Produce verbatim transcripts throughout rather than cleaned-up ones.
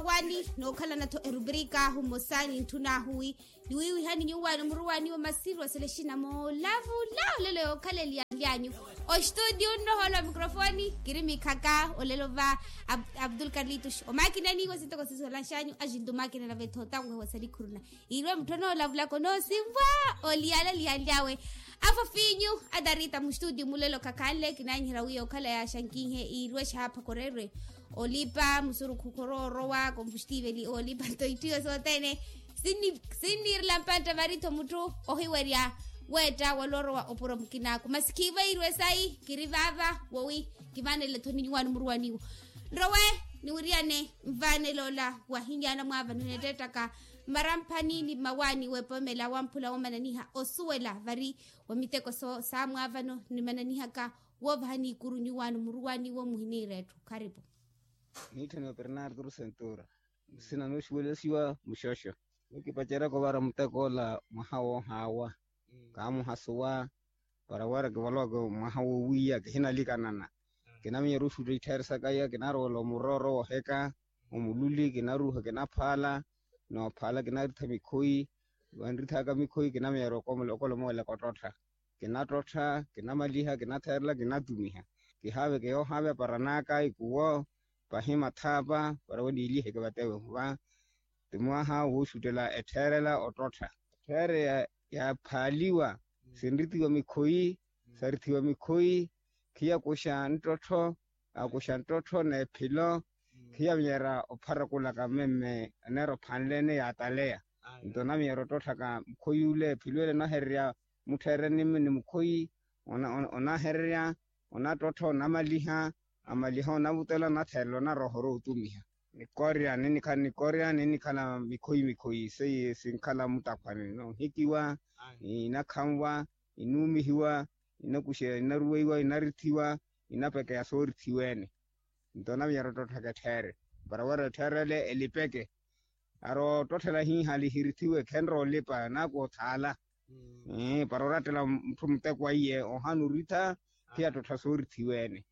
Wani nookhalana-tho erubrika ahu mmosa nintthuna ahu wi niwiiwihani nyuwaani omuruwaani wa masiru asele exina moolavula olelo yookhala eliyanlyanyu. Ostudio nnohoolo wa mikrofoni kiri mikhaka olelo va abdul karlitus omakinani iwe sintoko sisuwelanxanyu axinto omakinana vetho tanwehewa salikhuruna. Iirwe mutthu onoolavulaka onoosimvwa oliyala liyanlyawe. Afofinyu atarita muxtuti mulelo khakhanle kinaanyiherya wi okhala yaaxankihe iirwe xaapha koreerwe olipa musurukhu khoroorowa kompuxtiveli olipa nto itthu iyo sothene. Sinniirela mpantta vari-tho mutthu ohiwerya weetta waloorowa opuro mukinaaku masi khiivo iirwe sayi kiri vaava wowi kivaanele-tho ni nyuwaani muruwaniwo. Nrowe niwiriyane nvaanele ola wahinyaana mwaavano neettettaka mmaramphani ni mmawaani weepomela wamphula woomananiha osuwela vari wa miteko saamwaavano nimananihaka woovahani ikuru nyuwaani muruwaniwo muhiniira etthu kharipu. Niitthaniwa bernardo rusentura nsina nooxiwelesiwa muxoxo. Nikipaceryaka ovara muteko ola mwaha woohaawa kaamuhasuwa para wira kivoloke mwaha woowiya kihinalikanana. Kinaminyerya oxutta itthaari sakaya kinarowela omurooro wooheka omululi kinaruuha kinaphaala noophaala kinaritha mikhoyi. Vanrithaka mikhoyi kinaminyerya okola omooleka ottottha. Kinattottha kinamaliha kinatheerela kinatumiha. Kihaaveke yoohaaveya para naaka ikuwo pahi mathaapa para waniiliheke vatewe ohuva. Ti mwaha wooxuttela ettheerela ottottha. Etthere yaaphaaliwa sinrithiwa mikhoyi sarithiwa mikhoyi khiyakuxa nttottho. Akuxa nttottho n'ephilo khiyaminyerya opharakulaka mmemme oneera ophanle-ene yaataleya. Nto onaminyerya ottotthaka mukhuy'ule ephilwele onahererya mutthererya ni mukhoyi onahererya onattottha onamaliha amaliha onavutela onatheerela onarooha orootumiha. Nikorya ninnikhala nikorya ninnikhala mikhoyi mikhoyi seiye sinkhala mutakhwane noohikiwa inakhanwa inuumihiwa inakuxeya inaruweiwa inarithiwa inapekeya soorithiwa-ene. Nto onaminyerya ottotthaka etthere para wira ettherele elipeke. Arowa ottotthela hiihali hirithiwe khenroolipa naaku othaala para orattela mutthu muteko aiye ohana oritha khiyattottha soorithiwa-ene.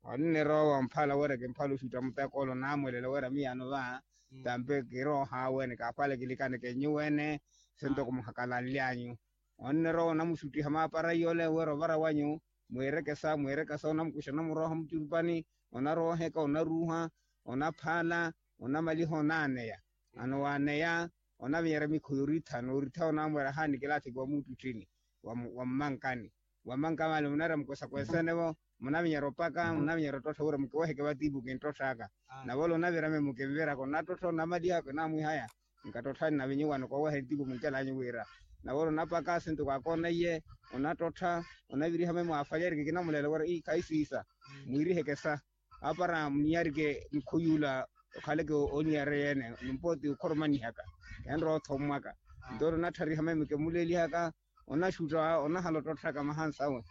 Onnirowa mphala wira kimphala oxutta muteko ole onaamwelela wira miyaano va tampe kiroohaawe-ene kaakhwale kilikaneke nyuwo-ene sentoko muhakalanlyanyu. Onnirowa onamuxuttiha maapara iyole wira ovara wanyu mwiireke sa mwiireke sa onamukuxa onamurooha mucurupani onarooheka onaruuha onaphaala onamaliha onaaneya. Ano waaneya onavinyerya mikhoyi oritha nooritha onamwera haani kilathiki wa muuttuttini wa mmankani wa mmanka vale munaira mukwesakwesene-vo munavinyerya opaka munavinyerya ottottha wira mukiweheke vatiipu kinttotthaaka. Nave ole onavirame mukinviraka onattottha onamalihaka onamwihaya nkattotthani nave nyuwano kooweha etiipu muncelanyu wira nave ole onapaka asintuku akoonaiye onattottha onaviriha mwe mwaafwalyerike kinamuleela wira ii khaisiisa mwiiriheke sa apara muninyarike mikhoy'ula okhaleke oniyareya-ene nimpooti okhoromanihaka enrowa othommwaka. Nto ole onatthariha meme kimuleelihaka onaxutta onahala ottotthaka mahansawe.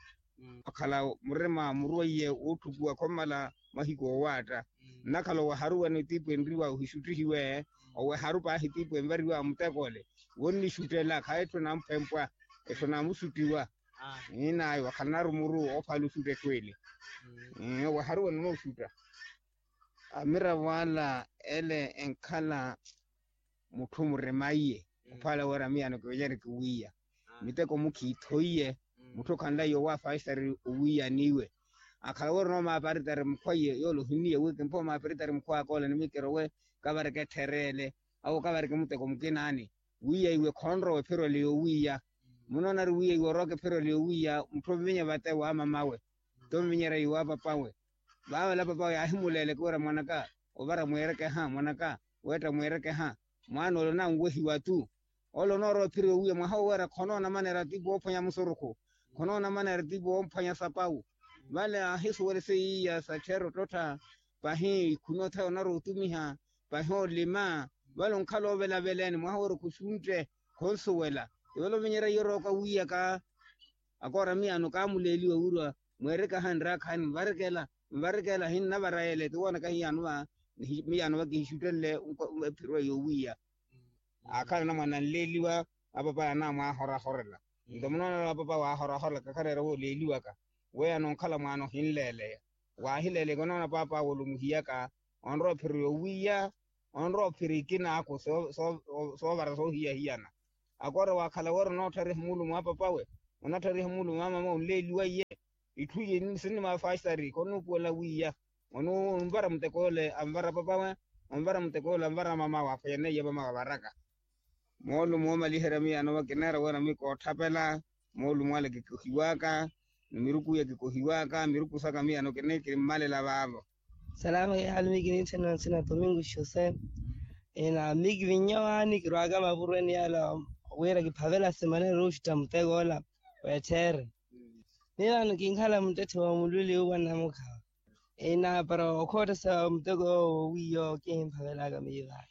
Okhala murima muruweiye wootthukuwa khommala mahiku owaatta nnakhala owaharuwene otiipu enriwa ohixuttihiwe oweharu paahi tiipu envariwa muteko ole wonnixuttela khaye etthu enamphwempwa etthu enamuxuttiwa. Ii nayo wakhala narumuru oophala oxutta etthu ele. Ii oweharuwene onooxutta amiravo ala ele enkhala mutthu murima iye ophwala wira miyaano kiwenyerye kiwiiya miteko mukhiithoiye mutthu okhanlaye owaafaaxitari owiiyaniwe. Akhala wira onoomaparitari mukhwa iye yoole ohinniye wi kimpha omaparitari mukhwa akoola ni mikirowe kavareke ettherele awo kavareke muteko mukinaani wiiya iwe khonrowa epherole yoowiiya. Munoona ari wiiya iwe orowa kepherole yoowiiya mutthu ovivinya vate waamamawe tomuvinyerya iwe apapawe. Vaavela papawe yaahimuleeleke wira mwanaka ovara mwiirekeha mwanaka weetta mwiirekeha mwaana ole onanwehiwa tu. Ole onoorowa ephiro yoowiya mwaha oweera khonoona maneera tiipu woophwanya musurukhu khonoona maneera tiipu woophwanya sapawu. Vale aahisuwele seiya sattherya ottottha pahi ikhuni othaya onarowa otumiha pahi olima vale onkhala ovelaveleene mwaha oweera okhuxuntte khonsuwela. Ivale ovinyerya iye orooka wiiyaka akoora miyaano kaamuleeliwa wirwa mweereke ahanre akhaani nvarekela nvarekela hinnavara yeele tiwoonaka hiyaano va miyaano va kihixuttenle ephiro yoowiiya. Aakhala anamwane anleeliwa apapaya anamwaahorahorela. Nto munoona apapaya waahorahorela kakhareera wooleeliwaka weya noonkhala mwaana ohinleeleya waahileeleyaka onoona paapaawe olumuhiyaka onrowa ephiro yoowiiya. onrowa ophira ikinaakhu soovara soohiyahiyana. Akoora waakhala wira onoottharya ehimuulumu a papawe, onatthariha ehimuulumu a mamawe onleeliwa iye. Itthu iye sinnimaafastari khonuupuwela wiiya onvara muteko ole anvara papawe, onvara muteko ole anvara mamawe aphwanyane iye mamawe avaraka. Moolumo oomaliherya miyaano kineera wira mikootthapela. Moolumo ale kikohiwaka, ni miruku iya kikohiwaka miruku saka miyaano kini kimmalela vaavo. Salama kihali mi kinitthena nsina domingo xose. Ena mi kivinnya waani kirwaaka mavurweni yala wira kiphavela simana eruxutta muteko ola. Weettheere. Miyo ano kinkhala muttetthe wa mulwili uwa namukhawa. Ena para okhoottesa muteko owo wiiyo kihimphavelaka miyo vaani.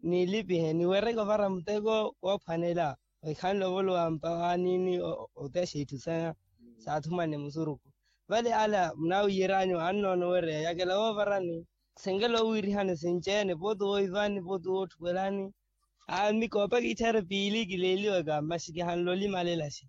Nilipihe niwereke ovara muteko woophwanela. Wekhanle ovolowa mpawaanini otexa itthu saya. Saathumane musurukhu vale ala munawiyeranyu annoona owereya yakela woovarani. Senkela owiirihani sinci-ene pooti woivani pooti wootthukwelani. Aa mmi koopa kitthere piili kileeliwaka masi kihanle olimalelaxe.